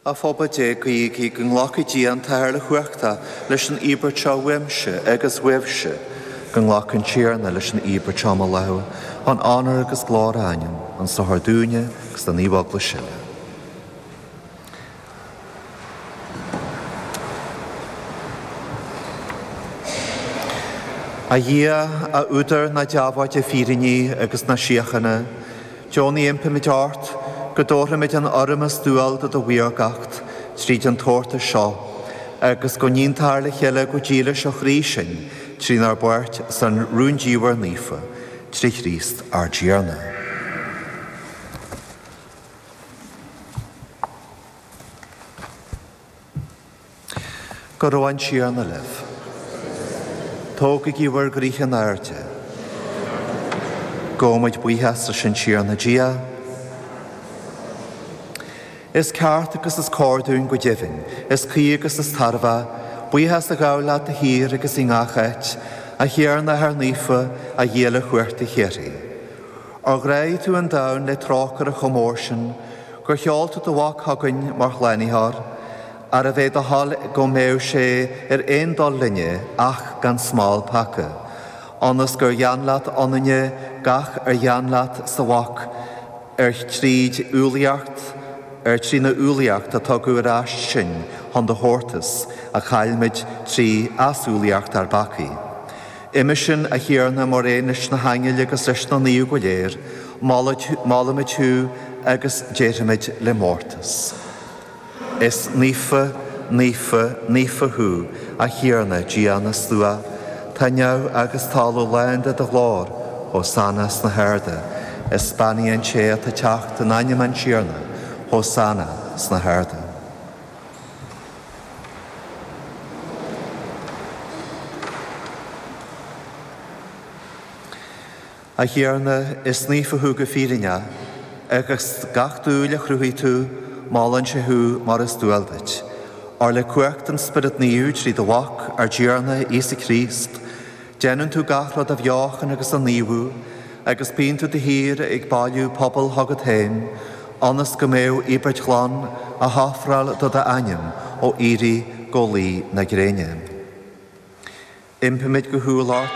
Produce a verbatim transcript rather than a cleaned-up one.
A phobal Dé guígí go nglacfaidh Dia an tAthair uilechumhachtach leis an íobairt seo uaimse agus uaibhse, go nglaca an Tiarna leis an íobairt seo i mo lámha, chun onóir agus glóir a ainm, chun sochair dúinne agus don Naomh-Eaglais uile. A Dhia, a údar na deabhóide fírinní agus na síochána, deonaigh impímid ort go dtabharfaimid an urraim is dual do do mhaorgacht tríd an tabhartas seo, agus go n-aontófar le chéile go dílis ó chroí sinn trínár bpáirt san rúndiamhair naofa, trí Chríost ár dTiarna. Go raibh an Tiarna libh. Tógaigí bhur gcroíthe in airde. Gabhaimid buíochas leis an Tiarna Dia. Is ceart agus is cóir dúinn go deimhin, is cuí agus is tairbhe, buíochas a ghabháil leat de shíor agus i ngach áit, a Thiarna a Athair Naofa, a Dhia uilechumhachtach shíoraí. Óir ghráigh tú an domhan le trócaire chomh mór sin, gur sheol tú do Mhac chugainn mar shlánaitheoir, arbh é do thoil go mbeadh sé ar aon dul linne ach gan smál peaca, ionas gur ghean leat ionainne gach ar ghean leat sa Mhac ar tríd umhlaíocht, ar trína umhlaíocht a tugadh ar ais sinn chun do thabhartas a chaillmid trí easumhlaíocht ár bpeacaí. Uime sin a Thiarna mar aon leis na haingil agus leis na naoimh go léir, molaimid thú agus déarfaimid le mórtas. Is naofa, naofa, naofa thú, a Thiarna, Dia na slua, tá neamh agus talamh lán de do ghlóir, Hosanna sna harda, is beannaithe an té atá ag teacht in ainm an Tiarna, Hosanna sna harda. A Thiarna, is naofa thú go fírinne, agus gach dúil a chruthaigh tú, molann sé thú mar is dual duit. Óir le cumhacht an Spiorad Naomh trí do Mhac, ár dTiarna Íosa Críost, déanann tú gach rud a bheochan agus a naomhú, agus bíonn tú de shíor ag bailiú pobal chugat féin, ionas go mbeadh íobairt ghlan á hofráil do d'ainm ó éirí go luí na gréine. Impímid go humhal ort